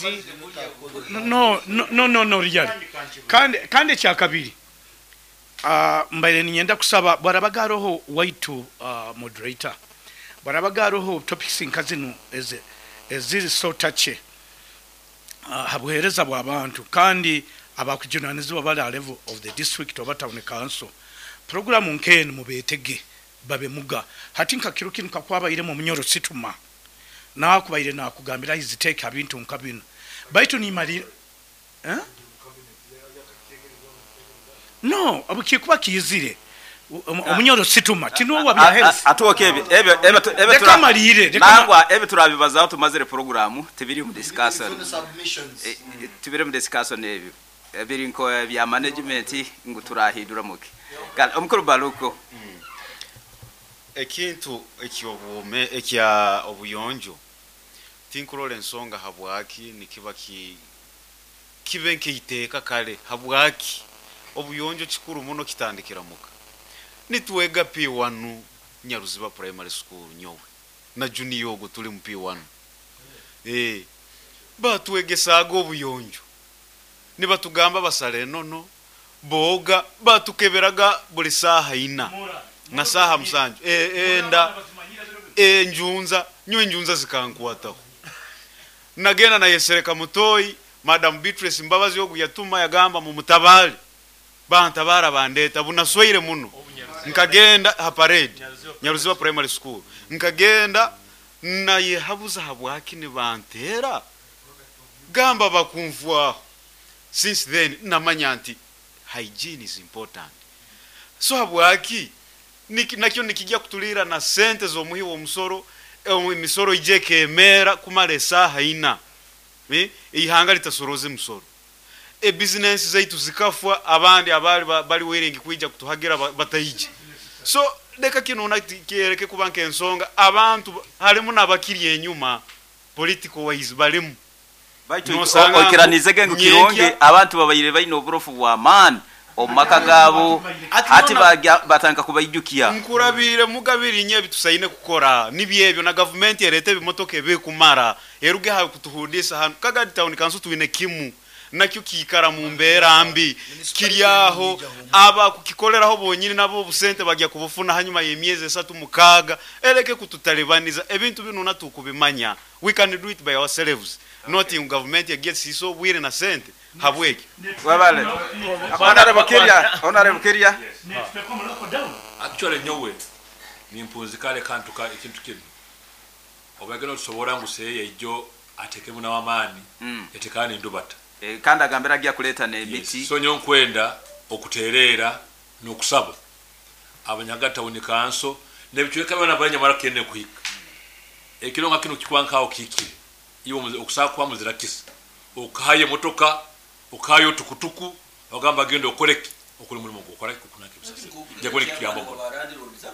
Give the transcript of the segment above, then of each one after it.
Amaizi. No, no, no, no, no, really. Kandi ekyakabiri, mbaire ninyenda kusaba bwarabaga haroho waitu, moderator, bwarabaga haroho topics nka zinu eziri so touchy ha buheereza bw'abantu, kandi abakujunanizibwa bali ha level of the district oba town council, programu nk'enu mubetege babe muga. Hati nka kiro kinu kakwabairemu Omunyoro Situma, nakubaire nakugambira his take ha bintu nka binu, baitu nimalira, eh? No, obukikuba kiizire Omunyoro Situma tinuwa bya health. Atuoke ebyo Leka malire, leka Nangwa, ebyo turabibazaho tumazire programu, tibiri mu discussion. Tibiri mu discussion. Ebyo biri nko bya management ngu turahindura muki. Kale, omukuru Baluko. Ekintu ekyobwome ekya obuyonjo, tinkurora ensonga habwaki nikiba kibe nk'eiteeka. Kale habwaki obuyonjo kikuru muno kitandikira muka. Nitwega P1 Nyaruziba Primary School, nyowe na junior ogwo tuli mu P1, batwegesaaga obuyonjo, nibatugamba basale enono, boga, batukeberaga buli saaha 4 na saaha 7. Enda enjunza, nyowe enjunza zikankwataho, nagenda nayesereka mutoyi. Madam Beatrice Mbabazi ogu yatuma yagamba mumutabale, bantabara, bandeta bunaswaire muno. Nkagenda ha parade, Nyaruziba Primary School, nkagenda nayehabuza habwaki nibantera, gamba bakunfwaho. Since then namanya nti hygiene is important. So habwaki nakyo nikijja kutulira na sente z'omuhi w'omusoro, emisoro ije ekemera kumara esaaha 4, ihanga litasoroza emisoro, ebizinesi zaitu zikafwa, abandi abali bali willing kwija kutuhagira bataije. So leka kino kyereke kuba nk'ensonga abantu halimu n'abakiri enyuma political wise balimu. Baitu Nosanga okiranizege ngu kirungi abantu babaire baine oburofu bw'amaani omu maka gaabo, hati batandika kubaijukia. Nkurabire mugabiri nye ebitusaine kukora nibyebyo, na gavumenti erete ebimotoka ebikumara eruge ha kutuhundisa hano Kagadi Town Council. Twine kimu nakyo kiikara mu mbeera mbi, kiri aho, aba kukikoleraho bonyini nabo obusente bagya kubufuna hanyuma y'emyezi 3 6. Ereke kututalibaniza ebintu bino natukubimanya. We can do it by ourselves, not in government egesiisa obwire na sente habweki. Wabale, Honorable Kirya, Honorable Kirya. Actually, nyowe nimpunzikale kantu ka ekintu kino obagenda otusobora ngu seeye ijjo atekemu n'amaani, etekana endubata. Kandi agambira ajja kuleeta n'emiti. Yes. So nyo nkwenda okutereera n'okusaba abanyaga town council n'ebicweka byona banyamara kende kuhika ekiro nga kino kikuba nkaho kikire iwe okusaba kwa muzira kisa okahayo emotoka, okahayo tukutuku, ogamba genda okoleki, okole omulimu gwokola kukunaka ebisasiro jakubona ekituyamba muno.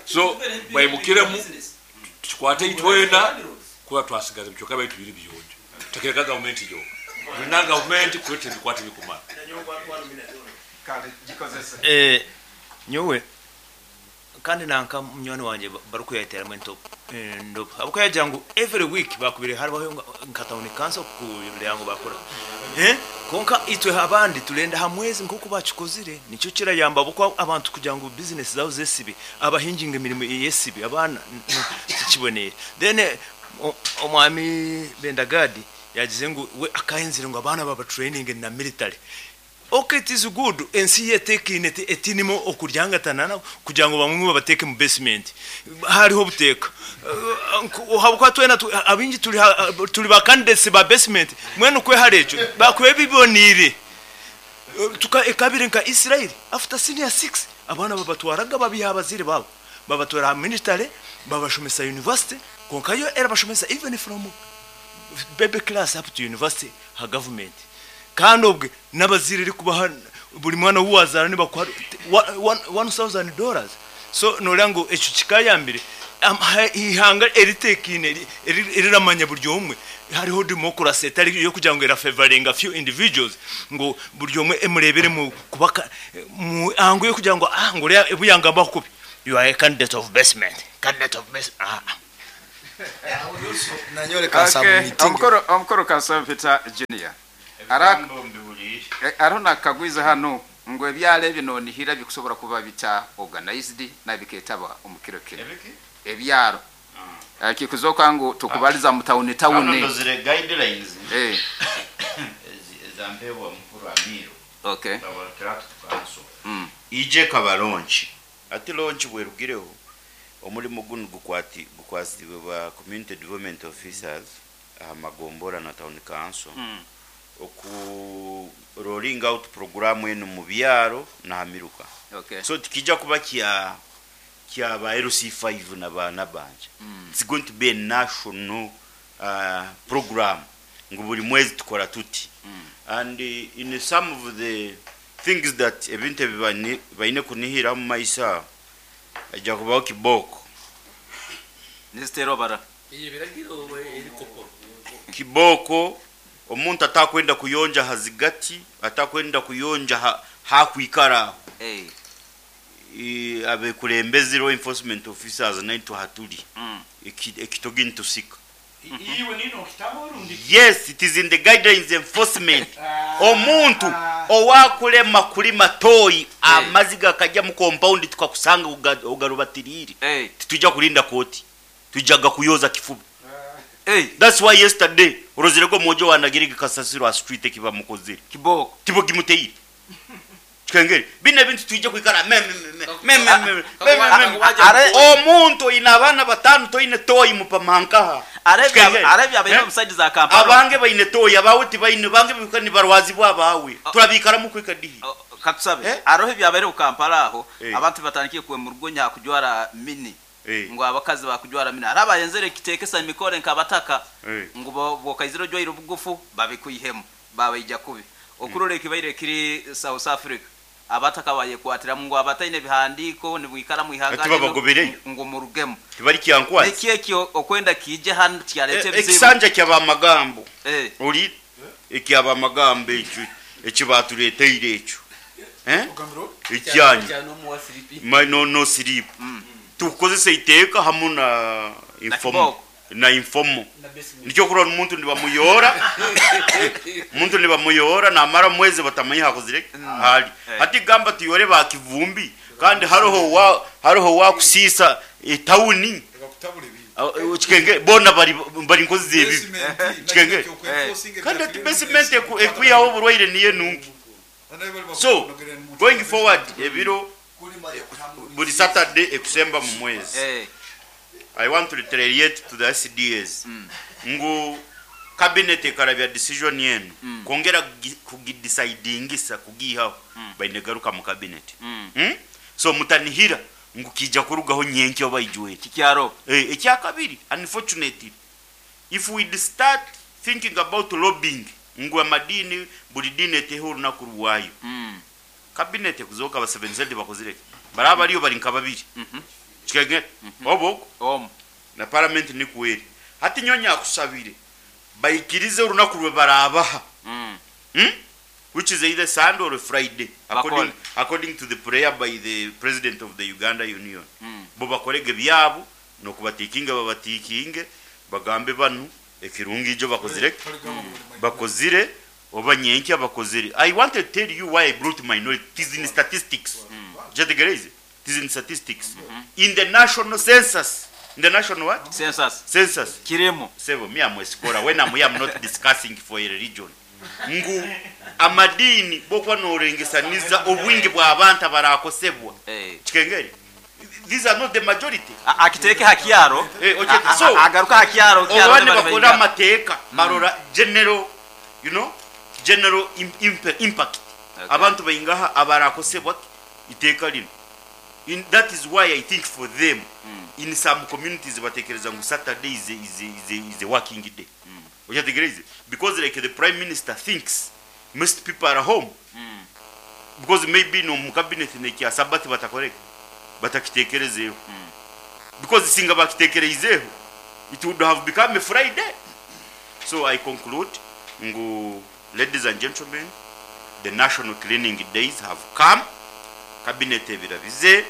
So bayimukiremu tukikwate itwena kuba twasigaza ebicweka byaitu biri biyonjo, tutakireka gavumenti yoka. Tulina gavumenti kuleta ebikwate bikumala. Nyowe kandi nanka munywani wanje barikuyeteramu entobo abakuyagira ngu every week bakubire hariho nka town council kureba ngu bakora, konka itwe abandi turenda ha mwezi nkoku bakikozire. Nikyo kirayamba buko abantu kugira ngu business zabo zesibe, abahinginga emirimo yesibe, abaana tikibonere. Then omwami Bendagadi yagize ngu we akahenzire ngu abaana baba training na military. Okay, it is good. Ensi yetekine etinimo okuryangatana kugira ngo bamwe babateke mu basement, hariho buteka habwa twena abingi tuli ba candidates ba basement. Mwene kwehara ekyo bakwe bibonire tuka ekabire nka Israel after senior 6 abana babatwaraga babiha abazire babo, babatwara military, babashomesa university. Konka yo era bashomesa even from baby class up to university ha government. Kandi obwe n'abazire iri kubaha buri mwana w'uwazara nibakuha $1000. So nolya ngu ekyo kikayambire ihanga eritekine eriramanya buri omwe hariho democracy etari yo kugira ngu erafavoringa few individuals, ngu buri omwe emurebere mu kubaka mu angu yo kugira ngu ngo uriya ebuyangamba kubi, you are a candidate of basement, candidate of basement. Nanyore ka Okay, submitting. Omukoro Kansaba Peter Junior. Ebigambo mbihuliire. Hariho nakakagwiza hano ngu ebyalo ebyo nonihira bikusobora kuba bita organized nabiketaba omu kiro kino. Ebiki? Ebyaro kikuzoka ngu tukubaliza mu tawuni Hano tawuni. ndozire guidelines ezampeebwa mukuru Amiru. Tract Council. Ije kaba launch. Ati launch bwerugireho omulimu gunu gukwasibwe ba community development officers aha magombora na town council. Oku rolling out program eno mu byaro na hamiruka. So tikija kuba kya ba LC5 na ba nabanja. It's going to be a national program ngu buli mwezi tukora tuti. And in some of the things that ebintu ebi baine kunihira mu maisa ajja kubaho kiboko. Nizitero bara. Kiboko omuntu atakwenda kuyonja hazigati, atakwenda kuyonja hakwikara. Abekulembezi law enforcement officers naitwe hatuli. Ekitogi ntusika. Iwe nino kitabo orundi. Yes, it is in the guidelines enforcement. Omuntu owakulema kulima toyi amaziga akajja mu compound tukakusanga ugarubatirire. Titujja kulinda koti. Tujaga kuyoza kifuba. That's why yesterday orozirego mojo wanagirige kasasiro a street kiba mukozire. Kiboko. Tibo gimuteire. Kengeri bine bintu tujja kwikara me me me me me me. Omuntu ina abana batano toine toyi mupamankaha. Arabia baine omusaizi za Kampala. Abange baine toyi abawe tibaine bange bikani barwazi bwabawe. Turabikara mu kwika dihi. Katusabe. Arohe byabaire ku Kampala aho abantu batangiye kwe mu rugo nyakujwara mini. Ngo abakazi bakujwara mini. Araba yenzere kitekesa imikore nkabataka. Ngo bokaiziro jwairo bugufu babikuyihemu babaija kubi. Okurore kibaire kiri South Africa. Abataka bayekwatira ngo abataine bihandiko nibwikara mu ihanga ngo murugemo tibari kyankwazi neki ekyo okwenda kije hano kyalete bizibu ekisanja kyaba magambo oli ekyaba magambo ekyo ekibatuleteire ekyo ekyanyu no no sleep tukozesa iteka hamu na informo na informo nicyo kurora umuntu ndibamuyora umuntu ndibamuyora namara mwezi batamanya hakozire hali ati gamba tuyore bakivumbi kandi hariho wa kusisa etawuni kikenge bona bari nkozi zebi kikenge kandi ati basement ekuyaho burwaire niye nungi. So going forward ebiro buri Saturday ekusemba mu mwezi. I want to reiterate to the SDAs. Ngu cabinet ekarabya decision yenu kongera kugidecidingisa kugihaho bainegaruka mu cabinet. So mutanihira ngu kija kurugaho nyenke obaijwe kikyaro. Ekyakabiri unfortunately if we start thinking about lobbying ngu amadini buli dini eteho olunaku rwayo. Cabinet kuzoka ba 7 bakozire baraba ariyo bari nka babiri. Kikenge obo na parliament ni kweri hati nyonya akusabire bayikirize urunaku rwe barabaha which is either Sunday or Friday according to the prayer by the president of the Uganda Union. Bo bakorege byabo no kubatikinga babatikinge bagambe banu ekirungi ijo bakozire bakozire obanyenki abakozire. I want to tell you why I brought minority. It is in statistics. Jetegereze. It is in statistics. In the national census. In the national what? Census. Census. Kirimo. Sebo, me am a scholar. When I'm here, I'm not discussing for a religion. Ngu amadini bokwa norengesaniza obwingi bwa abantu abarakosebwa. Kikengeri. These are not the majority. Akiteke hakiaro. Okay. So agaruka hakiaro kiaro. Obane bakora amateka barora general, you know, general impact. Abantu bayingaha abarakosebwa iteka lino. That is why I think for them in some communities batekereza ngu Saturday is a working day. Ochategereze because like the prime minister thinks most people are home. Because maybe no mu cabinet nekya Sabbath batakoreka batakitekerezeho. Because singa bakitekerezeho it would have become a Friday. So I conclude ngu ladies and gentlemen, the national cleaning days have come. Cabinet ebirabize,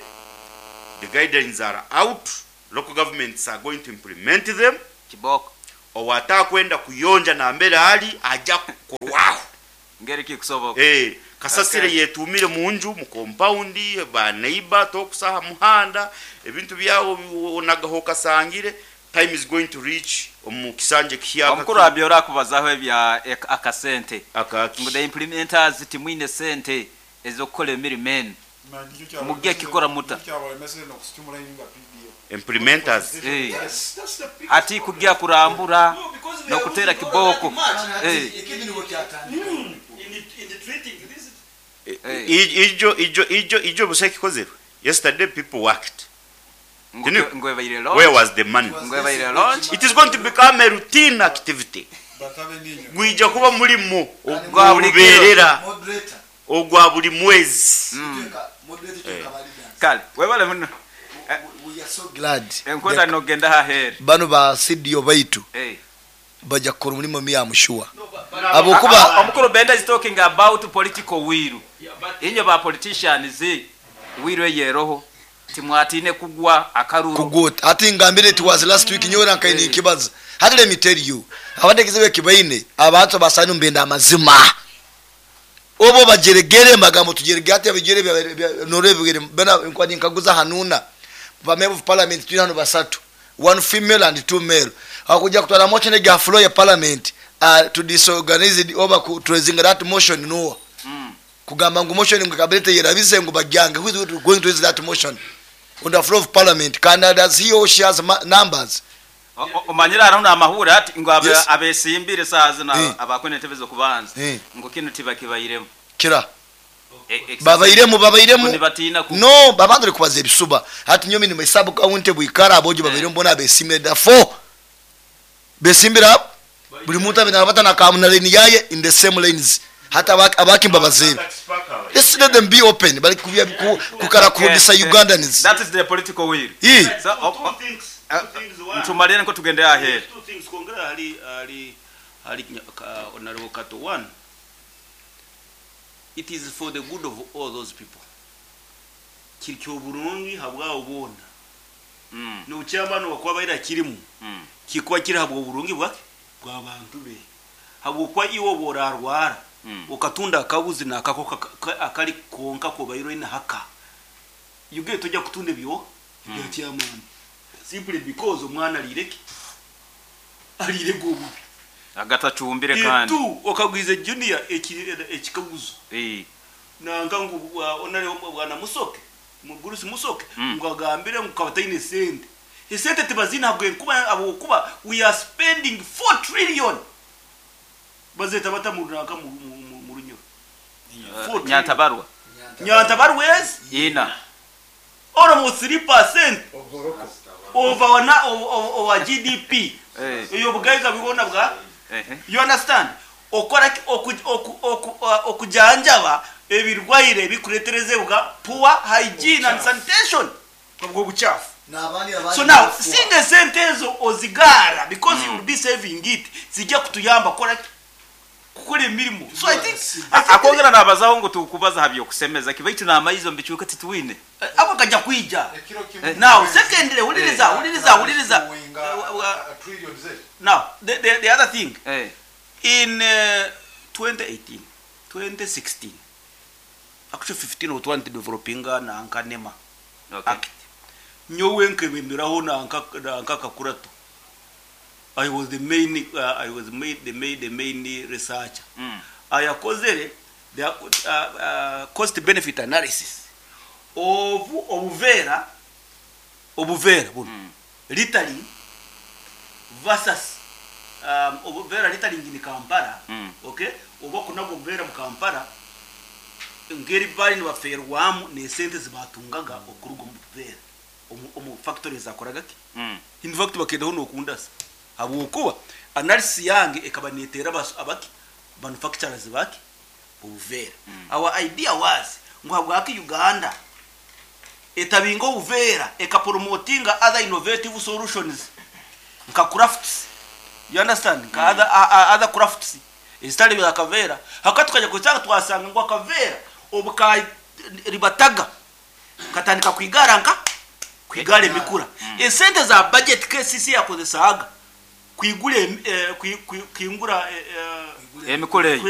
the guidelines are out. Local governments are going to implement them. Kiboko. Owatakwenda kuyonja nambere ali ajja kukorwaho. Ngeri kikusoboka. Kasasire yetumire munju mu compound ba neighbor tokusaha muhanda ebintu byawo onagaho kasangire. Time is going to reach omu kisanje kihyaka. Omukuru abyora kubazaho ebya akasente. Akaki. Ngo the implementers timwine sente ezokukola emirimo enu. Mujye kikora muta. Implementers. Hati kujya kurambura no kutera kiboko. Ijo buseki kozero. Yesterday people worked. Where was the money? It is going to become a routine activity. Gwija kuba mulimo ogwa ogwa buli mwezi. Kale webale muno. We are so glad. Enkwenda nogenda hahere. Bano ba CDO baitu. Bajja kukora omulimo mi amushuwa. Abokuba omukuru Benda is talking about political will. Inyo ba politicians will yeroho. Timwatine kugwa akaruru. Kugwa. Ati ngambire it was last week nyora nkaini ikibaza. Hati let me tell you. Abategeeze kibaine abantu basanu mbenda amazima. Obo bajeregere magambo tujeregere ati abijere norebe bena nkwani nkaguza hanuna. Ba member of parliament tuli hano basatu. 1 female and 2 male. Hakuja kutwala motion ya floor ya parliament to disorganize it oba ku raising that motion no. Kugamba ngu motion ngu kabinete yerabize ngu bagyange. Who is going to raise that motion on the floor of parliament? Canada he or she has numbers. Omanyira arona amahura ati ngo abesimbire sazi na abakone tebezo kubanza ngo kino tibakibayiremo kira babayiremo no babandure kubaza ebisuba hati nyomi ni mesabu kaunte buikara abojo babayiremo bona abesimire da 4 besimbira buli muntu abena abata na kamuna lane yaye in the same lanes hata abakimba bazebe. Let's let them be open bali kubya kukara kurudisa Ugandans. That is the political will. So ntumalire nko tugende ahead. Two things kongera hali hali hali honorable Kato. One, it is for the good of all those people. Kirikyo burungi habwa ubona. No chamba no kwabaira kirimu. Kikwa kiri habwa burungi bwake bwa bantu be. Habwo iwo borarwara. Ukatunda akabuzi nakako akali konka ko bayiro ina haka. You get tojya kutunda byo bya chairman. Simply because omwana alireke alirego bubi agatacumbire kandi tu okagwize junior ekikaguzo nanga ngu onare bwana musoke mugurusi musoke ngo agambire ngo kabataine sente esente tebazina bwe kuba abo kuba we are spending 4 trillion bazeta batamuraka mu runyo Nyantabarwa Nyantabarwa ina almost 3% over our GDP. Iyo bugaiga bibona bwa. You understand? Okora okujanjaba ebirwaire bikuretereze bwa poor hygiene and sanitation. Bwo buchafu. So now singe sentezo ozigara because you will be saving it. Zijja kutuyamba kora kukora emirimo. So I think akongera nabazaho ngo tukubaza habyo kusemeza kibaitu na amayizo mbichuka tituwine. Abo kajja kuija. Now secondly uliriza Now the other thing in 2018 2016 actually 15 or 20 developing na ankanema act. Nyowe nkebemeraho na anka kakurato. I was the main the main researcher. Ayakozere the cost benefit analysis of obuvera buno littering versus obuvera littering in Kampala. Okay, oba kunago obuvera mu Kampala ngeri bali nibaferwamu ne sente zibatungaga okuruga mu buvera omu factories akoraga ki. In fact bakendaho nokundasa habwokuba analysis yange ekaba netera abaki manufacturers baki obuvera. Our idea was ngo habwaki Uganda etabinga obuvera ekapromotinga other innovative solutions nka crafts. You understand? Nka other crafts ezitali bya kavera hakati tukajya kusanga twasanga ngo akavera obuka ribataga katandika kwigara nka Kwigala emikura. Esente za budget KCC yakozesaaga kwigula kwingura emikura eyo.